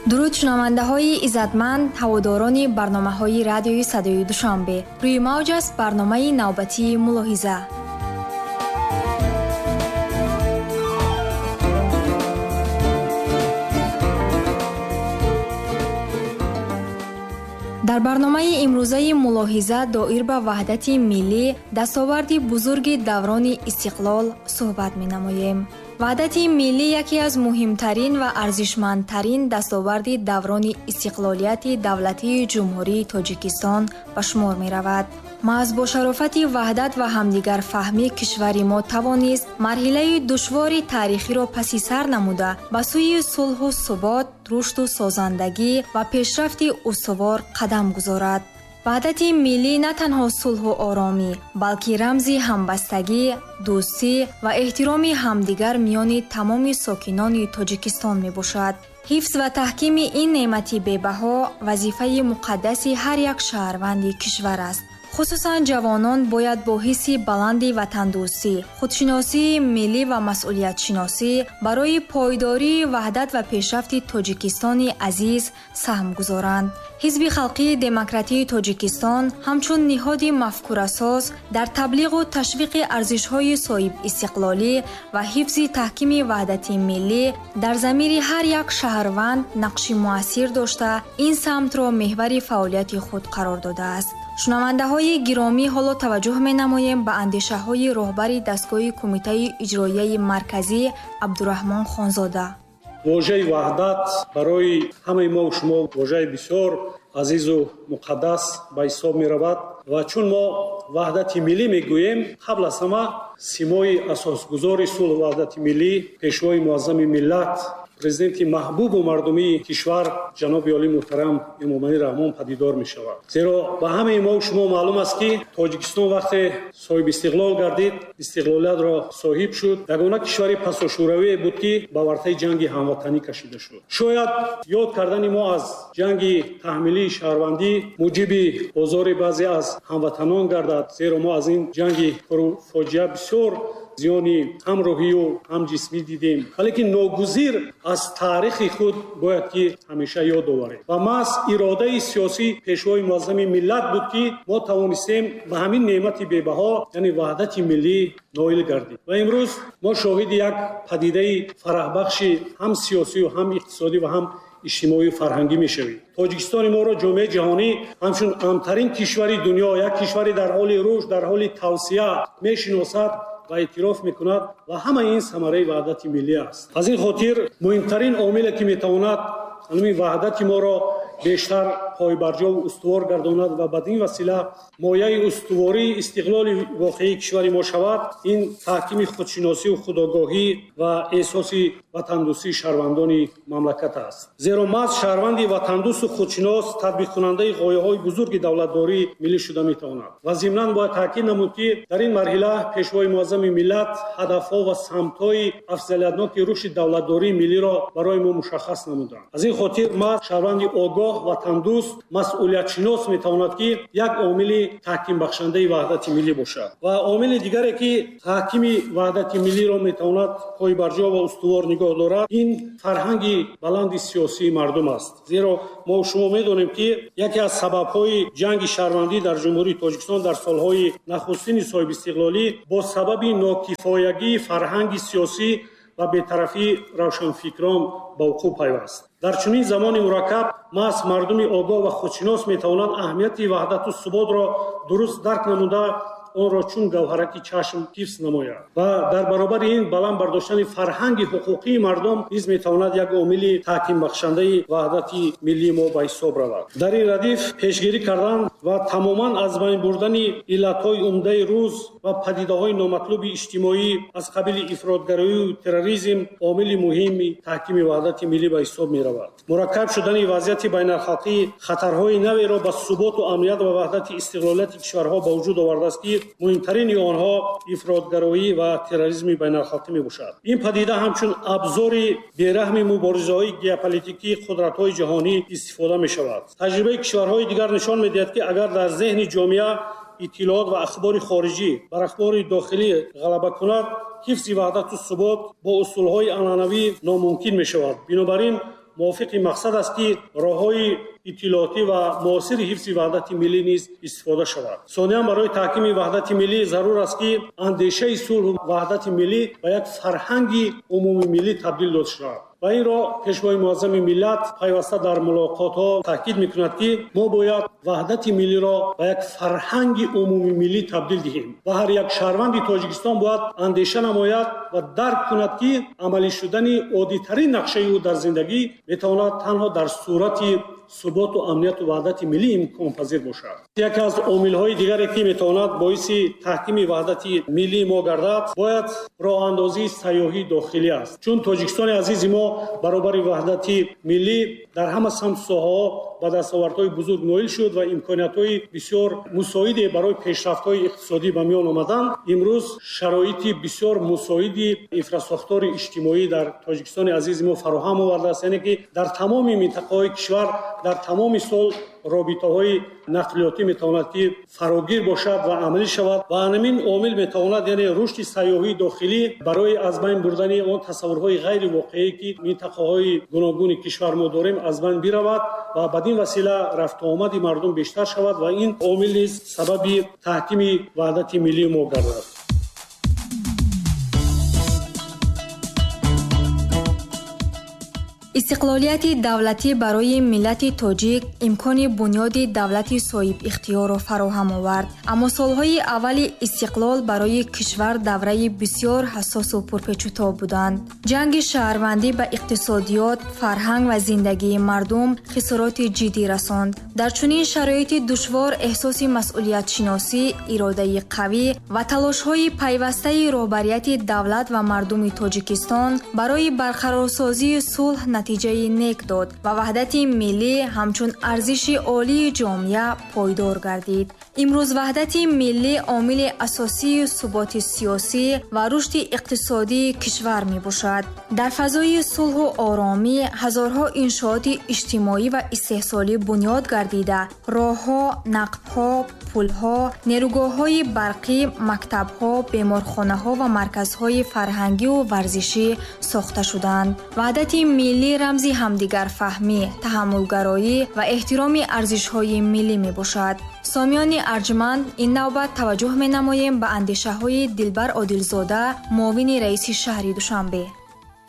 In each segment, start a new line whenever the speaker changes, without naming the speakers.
Дуруд шунавандаҳои иззатманд, ҳаводорони барномаҳои радиои садои Душанбе. Рӯи мавҷ аст барномаи навбатии мулоҳиза. Дар барномаи имрӯзаи мулоҳиза доир ба ваҳдати миллӣ, дастоварди бузурги даврони истиқлол суҳбат менамоем. Ваҳдати миллӣ яке аз муҳимтарин ва арзишмандтарин дастоварди даврони истиқлолияти давлатии Ҷумҳурии Тоҷикистон ба шумор меравад. Маҳз бо шарофати ваҳдат ва ҳамдигарфаҳмӣ кишвари мо тавонист марҳилаи душвори таърихиро паси сар намуда, ба сӯи сулҳу субот, рушду созандагӣ ва пешрафти устувор қадам гузорад. Ваҳдати миллӣ на танҳо сулҳу оромӣ, балки рамзи ҳамбастагӣ, дӯстӣ ва эҳтироми ҳамдигар миёни тамоми сокинони Тоҷикистон мебошад. Ҳифз ва таҳкими ин неъмати бебаҳо вазифаи муқаддаси ҳар як шаҳрванди кишвар аст. Хусусан ҷавонон бояд бо ҳисси баланди ватандӯстӣ, худшиносии миллӣ ва масъулиятшиносӣ барои пойдории ваҳдат ва пешрафти Тоҷикистони азиз саҳм гузоранд. Ҳизби халқии демократии Тоҷикистон ҳамчун ниҳоди мафкурасоз дар таблиғу ташвиқи арзишҳои соҳибистиқлолӣ ва ҳифзи таҳкими ваҳдати миллӣ дар замири ҳар як шаҳрванд нақши муассир дошта, ин самтро меҳвари фаъолияти худ қарор додааст. Шунавандаҳои гиромӣ, ҳоло таваҷҷӯҳ менамоем ба андешаҳои роҳбари дастгоҳи Кумитаи иҷроияи марказӣ Абдураҳмон Хонзода.
Вожаи ваҳдат барои ҳамаи мо шумо вожаи бисёр азизу муқаддас ба ҳисоб меравад ва чун мо ваҳдати миллӣ мегӯем, қабл аз ҳама симои асосгузори сулҳу ваҳдати миллӣ, пешвои муаззами миллат, президенти маҳбубу мардумии кишвар ҷаноби олӣ муҳтарам Эмомалӣ Раҳмон падидор мешавад. Зеро ба ҳамаи мо шумо маълум аст, ки Тоҷикистон вақте соҳиби истиқлол гардид, истиқлолиятро соҳиб шуд, ягона кишвари пасошӯравие буд, ки ба вартаи ҷанги ҳамватанӣ кашида шуд. Шояд ёд кардани мо аз ҷанги таҳмилии шаҳрвандӣ муҷиби озори баъзе аз ҳамватанон гардад, зеро мо аз ин ҷанги пурфоҷиа бисёр зиёни ҳам рӯҳию ҳам ҷисмӣ дидем, валекин ногузир аз таърихи худ бояд ки ҳамеша ёд оварем. Ва маҳз иродаи сиёсӣ пешвои муаззами миллат буд, ки мо тавонистем ба ҳамин неъмати бебаҳо, яъне ваҳдати миллӣ ноил гардем. Ва имрӯз мо шоҳиди як падидаи фараҳбахши ҳам сиёсию ҳам иқтисодӣ ва ҳам иҷтимоию фарҳангӣ мешавем. Тоҷикистони моро ҷомеаи ҷаҳонӣ ҳамчун амтарин кишвари дунё, як кишвари дар ҳоли рушд, дар ҳоли тавсия мешиносад ва эътироф мекунад ва ҳамаи ин самараи ваҳдати миллӣ аст. Аз ин хотир муҳимтарин омиле, ки метавонад ҳамин ваҳдати моро бештар пойбарҷову устувор гардонад ва бад ин васила мояи устувории истиқлоли воқеии кишвари мо шавад, ин таҳкими худшиносию худогоҳӣ ва эҳсоси ватандӯстии шаҳрвандони мамлакат аст. Зеро маҳз шаҳрванди ватандӯсту худшинос татбиқкунандаи ғояҳои бузурги давлатдории миллӣ шуда метавонад. Ва зимнан бояд таъкид намуд, ки дар ин марҳила пешвои муаззами миллат ҳадафҳо ва самтҳои афзалиятноки рушди давлатдории миллиро барои мо мушаххас намуданд. Аз ин хотир маҳз шаҳрванди огоҳ, ватандӯст, масъулиятшинос метавонад, ки як омили таҳкимбахшандаи ваҳдати миллӣ бошад. Ва омили дигаре, ки таҳкими ваҳдати миллиро метавонад пойбарҷо ва устувор нигоҳ дорад, ин фарҳанги баланди сиёсии мардум аст. Зеро мо шумо медонем, ки яке аз сабабҳои ҷанги шаҳрвандӣ дар Ҷумҳурии Тоҷикистон дар солҳои нахустини соҳибистиқлолӣ бо сабаби нокифоягии фарҳанги сиёсӣ ва бетарафии равшанфикрон ба вуқӯъ пайваст. Дар чунин замони мураккаб маҳз мардуми огоҳ ва худшинос метавонанд аҳамияти ваҳдату суботро дуруст дарк намуда, онро чун гавҳараки чашм ҳифз намояд. Ва дар баробари ин баланд бардоштани фарҳанги ҳуқуқии мардум низ метавонад як омили таҳкимбахшандаи ваҳдати миллии мо ба ҳисоб равад. Дар ин радиф пешгирӣ кардан ва тамоман аз байн бурдани иллатҳои умдаи рӯз ва падидаҳои номатлуби иҷтимоӣ аз қабили ифротгароию терроризм омили муҳими таҳкими ваҳдати миллӣ ба ҳисоб меравад. Мураккаб шудани вазъияти байналхалқӣ хатарҳои наверо ба суботу амният ва ваҳдати истиқлолияти кишварҳо ба вуҷуд овардааст, ки муҳимтарини онҳо ифротгароӣ ва терроризми байналхалқӣ мебошад. Ин падида ҳамчун абзори бераҳми муборизаҳои геополитикии қудратҳои ҷаҳонӣ истифода мешавад. Таҷрибаи кишварҳои дигар нишон медиҳад, ки агар дар зеҳни ҷомеа иттилоот ва ахбори хориҷӣ бар ахбори дохилӣ ғалаба кунад, ҳифзи ваҳдату субот бо усулҳои анъанавӣ номумкин мешавад. Бинобар ин Мувофиқи мақсад аст, ки роҳҳои иттилоотӣ ва муосири ҳифзи ваҳдати миллӣ низ истифода шавад. Сониян, барои таҳкими ваҳдати миллӣ зарур аст, ки андешаи сулҳу ваҳдати миллӣ ба як фарҳанги умумимиллӣ табдил дода шавад. Ва инро Пешвои муаззами миллат пайваста дар мулоқотҳо таъкид мекунад, ки мо бояд ваҳдати миллиро ба як фарҳанги умумимиллӣ табдил диҳем ва ҳар як шаҳрванди Тоҷикистон бояд андеша намояд ва дарк кунад, ки амалӣ шудани оддитарин нақшаи ӯ дар зиндагӣ метавонад танҳо дар сурати суботу амнияту ваҳдати миллӣ имконпазир бошад. Яке аз омилҳои дигаре, ки метавонад боиси таҳкими ваҳдати миллии мо гардад, бояд роҳандозии сайёҳии дохилӣ аст. Чун Тоҷикистони азизи мо баробари ваҳдати миллӣ дар ҳама самту соҳаҳо ба дастовардҳои бузург ноил шуд ва имкониятҳои бисёр мусоиде барои пешрафтҳои иқтисодӣ ба миён омаданд. Имрӯз шароити бисёр мусоиди инфрасохтори иҷтимоӣ дар Тоҷикистони азизи мо фароҳам овардааст, яъне ки дар тамоми минтақаҳои кишвар дар тамоми сол робитаҳои нақлиётӣ метавонад ки фарогир бошад ва амалӣ шавад ва ҳамин омил метавонад, яъне рушди сайёҳии дохилӣ барои аз байн бурдани он тасаввурҳои ғайривоқеӣ, ки минтақаҳои гуногуни кишвар мо дорем, аз байн биравад ва бад ин васила рафтуомади мардум бештар шавад ва ин омил низ сабаби таҳкими ваҳдати миллии мо гардад.
Истиқлолияти давлатӣ барои миллати тоҷик имкони бунёди давлати соҳибихтиёрро фароҳам овард. Аммо солҳои аввали истиқлол барои кишвар давраи бисёр ҳассосу пурпечутоб буданд. Ҷанги шаҳрвандӣ ба иқтисодиёт, фарҳанг ва зиндагии мардум хисороти ҷиддӣ расонд. Дар чунин шароити душвор эҳсоси масъулиятшиносӣ, иродаи қавӣ ва талошҳои пайвастаи роҳбарияти давлат ва мардуми Тоҷикистон барои барқарорсозии сулҳ натиҷаи нек дод ва ваҳдати миллӣ ҳамчун арзиши олии ҷомеа пойдор гардид. Имрӯз ваҳдати миллӣ омили асосии суботи сиёсӣ ва рушди иқтисодии кишвар мебошад. Дар фазои сулҳу оромӣ ҳазорҳо иншооти иҷтимоӣ ва истеҳсолӣ бунёд гардида, роҳҳо, нақбҳо, пулҳо, нерӯгоҳҳои барқӣ, мактабҳо, беморхонаҳо ва марказҳои фарҳангию варзишӣ сохта шуданд. Ваҳдати миллӣ рамзи ҳамдигарфаҳмӣ, таҳаммулгароӣ ва эҳтироми арзишҳои миллӣ мебошад. Сомиёни арҷманд, ин навбат таваҷҷӯҳ менамоем ба андешаҳои Дилбар Одилзода, муовини раиси шаҳри Душанбе.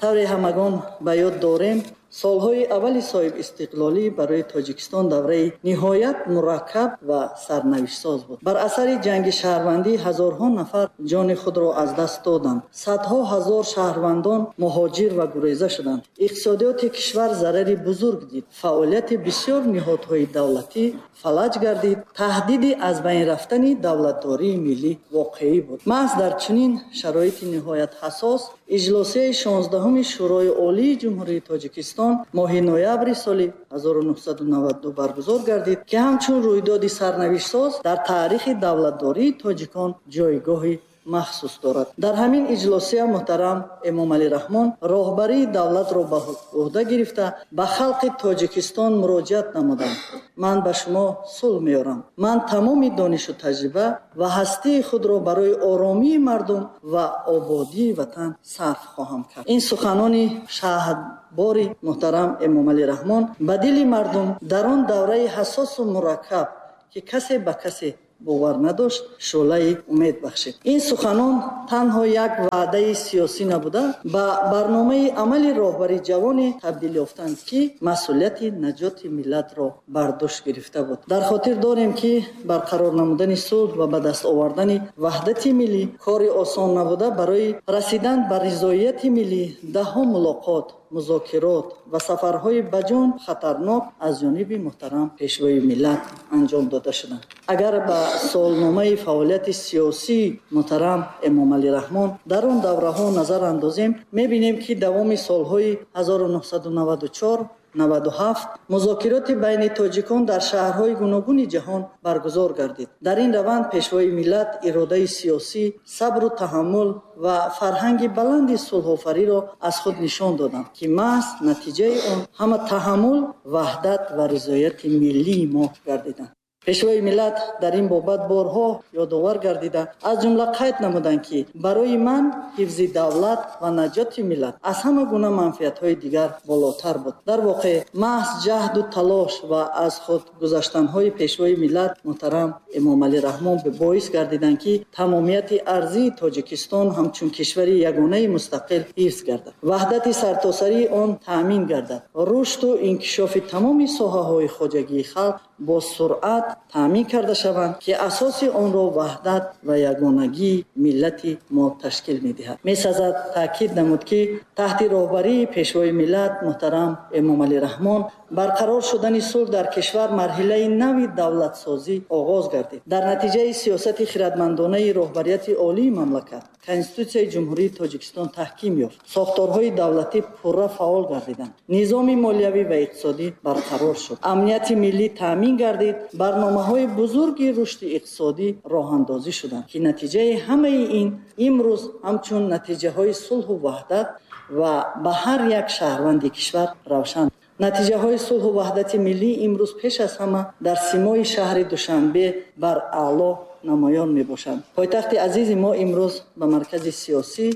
Тавре ҳамагон ба ёд дорем, солҳои аввали соҳибистиқлолӣ барои Тоҷикистон давраи ниҳоят мураккаб ва сарнавиштсоз буд. Бар асари ҷанги шаҳрвандӣ ҳазорҳо нафар ҷони худро аз даст доданд. Садҳо ҳазор шаҳрвандон муҳоҷир ва гуреза шуданд. Иқтисодиёти кишвар зарари бузург дид. Фаъолияти бисёр ниҳодҳои давлатӣ фалаҷ гардид. Таҳдиди аз байн рафтани давлатдории миллӣ воқеӣ буд. Маҳз дар чунин шароити ниҳоят ҳассос иҷлосияи 16-уми Шӯрои Олии Ҷумҳурии Тоҷикистон моҳи ноябри соли 1992 баргузор гардид, ки ҳамчун рӯйдоди сарнавиштсоз дар таърихи давлатдории тоҷикон ҷойгоҳи махсус дорад. Дар ҳамин иҷлосия муҳтарам Эмомалӣ Раҳмон роҳбарии давлатро ба ӯҳда гирифта ба халқи Тоҷикистон муроҷиат намуданд. Ман ба шумо сулҳ меорам. Ман тамоми донишу таҷриба ва ҳастии худро барои оромии мардум ва ободии ватан сарф хоҳам кард. Ин суханони шаҳдбори муҳтарам Эмомалӣ Раҳмон ба дили мардум дар он давраи ҳассосу мураккаб, ки касе ба касе бовар надошт, шӯълаи умед бахшид. Ин суханон танҳо як ваъдаи сиёсӣ набуда, ба барномаи амали роҳбари ҷавоне табдил ёфтанд, ки масъулияти наҷоти миллатро бар дӯш гирифта буд. Дар хотир дорем, ки барқарор намудани сулҳ ва ба даст овардани ваҳдати миллӣ кори осон набуда, барои расидан ба ризоияти миллӣ даҳҳо мулоқот, музокирот ва сафарҳои ба ҷон хатарнок аз ҷониби муҳтарам Пешвои миллат анҷом дода шуданд. Агар ба солномаи фаъолияти сиёсии муҳтарам Эмомалӣ Раҳмон дар он давраҳо назар андозем, мебинем, ки давоми солҳои 1994 97 музокироти байни тоҷикон дар шаҳрҳои гуногуни ҷаҳон баргузор гардид. Дар ин раванд Пешвои миллат иродаи сиёсӣ, сабру таҳаммул ва фарҳанги баланди сулҳофариро аз худ нишон доданд, ки маҳз натиҷаи он ҳама таҳаммул, ваҳдат ва ризояти миллии мо гардиданд. Пешвои миллат дар ин бобат борҳо ёдовар гардида, аз ҷумла қайд намуданд, ки барои ман ҳифзи давлат ва наҷоти миллат аз ҳама гуна манфиатҳои дигар болотар буд. Дар воқеъ, маҳз ҷаҳду талош ва аз худ гузаштанҳои Пешвои миллат муҳтарам Эмомалӣ Раҳмон боис гардиданд, ки тамомияти арзии Тоҷикистон ҳамчун кишвари ягонаи мустақил ҳифз гардад, ваҳдати сартосарии он таъмин гардад, рушду инкишофи тамоми соҳаҳои хоҷагии халқ бо суръат таъмин карда шаванд, ки асоси онро ваҳдат ва ягонагии миллати мо ташкил медиҳад. Месазад таъкид намуд, ки таҳти роҳбарии Пешвои миллат муҳтарам Эмомалӣ Раҳмон барқарор шудани сулҳ дар кишвар марҳилаи нави давлатсозӣ оғоз гардид. Дар натиҷаи сиёсати хирадмандонаи роҳбарияти олии мамлакат Конститутсияи Ҷумҳурии Тоҷикистон таҳким ёфт, сохторҳои давлатӣ пурра фаъол гардиданд, низоми молиявӣ ва иқтисодӣ барқарор шуд, амнияти миллӣ таъмин гардид, барномаҳои бузурги рушди иқтисодӣ роҳандозӣ шуданд, ки натиҷаи ҳамаи ин имрӯз ҳамчун натиҷаҳои сулҳу ваҳдат ва ба ҳар як шаҳрванди кишвар равшан. Натиҷаҳои сулҳу ваҳдати миллӣ имрӯз пеш аз ҳама дар симои шаҳри Душанбе бар аъло намоён мебошанд. Пойтахти азизи мо имрӯз ба маркази сиёсӣ,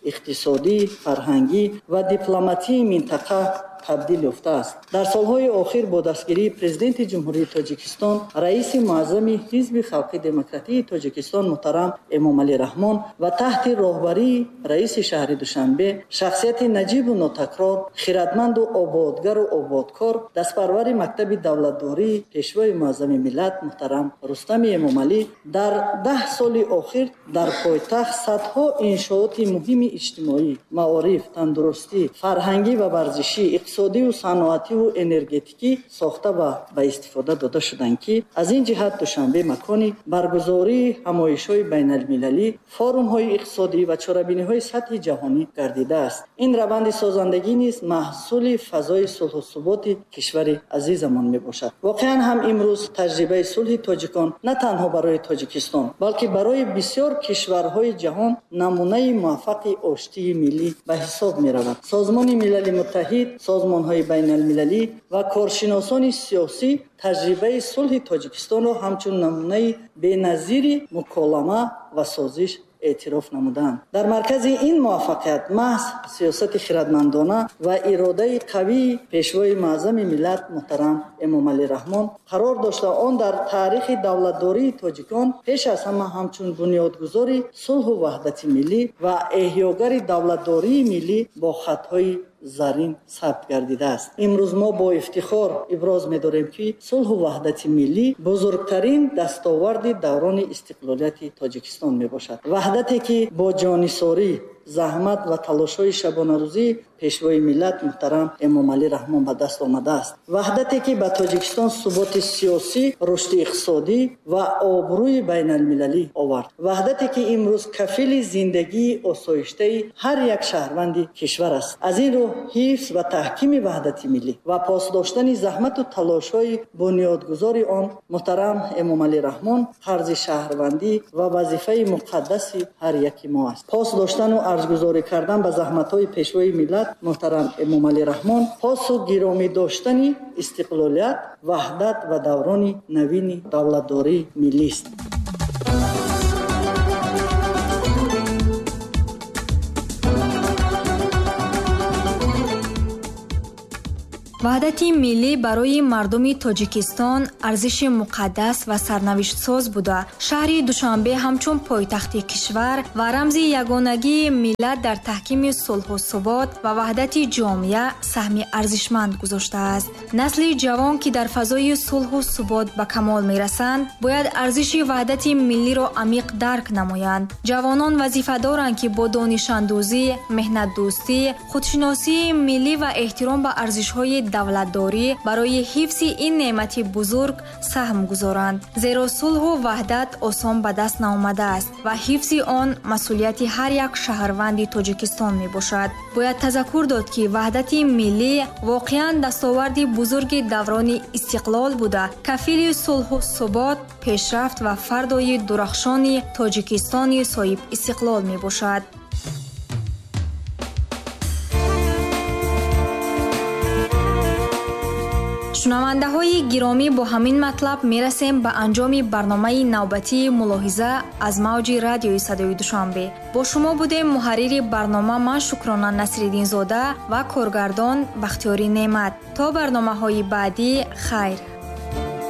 иқтисодӣ, фарҳангӣ ва дипломатии минтақа табдил ёфтааст. Дар солҳои охир бо дастгирии Президенти Ҷумҳурии Тоҷикистон, раиси муаззами Ҳизби Халқи Демократии Тоҷикистон муҳтарам Эмомалӣ Раҳмон ва таҳти роҳбарии раиси шаҳри Душанбе, шахсияти наҷибу нотакрор, хирадманду ободгару ободкор, дастпарвари мактаби давлатдории Пешвои муаззами миллат муҳтарам Рустами Эмомалӣ дар 10 соли охир дар пойтахт садҳо иншооти муҳими иҷтимоӣ, маориф, тандурустӣ, фарҳангӣ ва варзишӣ, иқтисодиву саноативу энергетикӣ сохта ва ба истифода дода шуданд, ки аз ин ҷиҳат Душанбе макони баргузории ҳамоишҳои байналмилалӣ, форумҳои иқтисодӣ ва чорабиниҳои сатҳи ҷаҳонӣ гардидааст. Ин раванди созандагӣ низ маҳсули фазои сулҳу суботи кишвари азизамон мебошад. Воқеан ҳам имрӯз таҷрибаи сулҳи тоҷикон на танҳо барои Тоҷикистон, балки барои бисёр кишварҳои ҷаҳон намунаи муваффақи оштии миллӣ ба ҳисоб меравад. Созмони Милали Муттаҳид, созмонҳои байналмилалӣ ва коршиносони сиёсӣ таҷрибаи сулҳи Тоҷикистонро ҳамчун намунаи беназири муколама ва созиш эътироф намуданд. Дар маркази ин муваффақият маҳз сиёсати хирадмандона ва иродаи қавии Пешвои муаззами миллат муҳтарам Эмомалӣ Раҳмон қарор дошта, он дар таърихи давлатдории тоҷикон пеш аз ҳама ҳамчун бунёдгузори сулҳу ваҳдати миллӣ ва эҳёгари давлатдории миллӣ бо хатҳои зарин сабт гардидааст. Имрӯз мо бо ифтихор иброз медорем, ки сулҳу ваҳдати миллӣ бузургтарин дастоварди даврони истиқлолияти Тоҷикистон мебошад. Ваҳдате, ки бо ҷонисорӣ, заҳмат ва талошҳои шабонарӯзии Пешвои миллат муҳтарам Эмомалӣ Раҳмон ба даст омадааст. Ваҳдате, ки ба Тоҷикистон суботи сиёсӣ, рушди иқтисодӣ ва обрӯи байналмилалӣ овард. Ваҳдате, ки имрӯз кафили зиндагии осоиштаи ҳар як шаҳрванди кишвар аст. Аз ин рӯ ҳифз ва таҳкими ваҳдати миллӣ ва пос доштани заҳмату талошҳои бунёдгузори он муҳтарам Эмомалӣ Раҳмон қарзи шаҳрвандӣ ва вазифаи муқаддаси ҳар яки мо аст. Пос доштану арҷгузорӣ кардан ба заҳматҳои Пешвои миллат муҳтарам Эмомалӣ Раҳмон посу гиромӣ доштани истиқлолият, ваҳдат ва даврони навини давлатдории миллист.
Ваҳдати миллӣ барои мардуми Тоҷикистон арзиши муқаддас ва сарнавиштсоз буда, шаҳри Душанбе ҳамчун пойтахти кишвар ва рамзи ягонагии миллат дар таҳкими сулҳу субот ва ваҳдати ҷомеа саҳми арзишманд гузоштааст. Насли ҷавон, ки дар фазои сулҳу субот ба камол мерасанд, бояд арзиши ваҳдати миллиро амиқ дарк намоянд. Ҷавонон вазифа доранд, ки бо донишандӯзӣ, меҳнатдӯстӣ, худшиносии миллӣ ва эҳтиром ба арзишҳои давлатдорӣ барои ҳифзи ин неъмати бузург саҳм гузоранд. Зеро сулҳу ваҳдат осон ба даст наомадааст ва ҳифзи он масъулияти ҳар як шаҳрванди Тоҷикистон мебошад. Бояд тазаккур дод, ки ваҳдати миллӣ воқеан дастоварди бузурги даврони истиқлол буда, кафили сулҳу субот, пешрафт ва фардои дурахшони Тоҷикистони соҳибистиқлол мебошад. Шунавандаҳои гиромӣ, бо ҳамин матлаб мерасем ба анҷоми барномаи навбатии «Мулоҳиза» аз мавҷи радиои Садои Душанбе. Бо шумо будем муҳаррири барнома ман, Шукрона Насриддинзода, ва коргардон Бахтиёри Неъмат. То барномаҳои баъдӣ, хайр.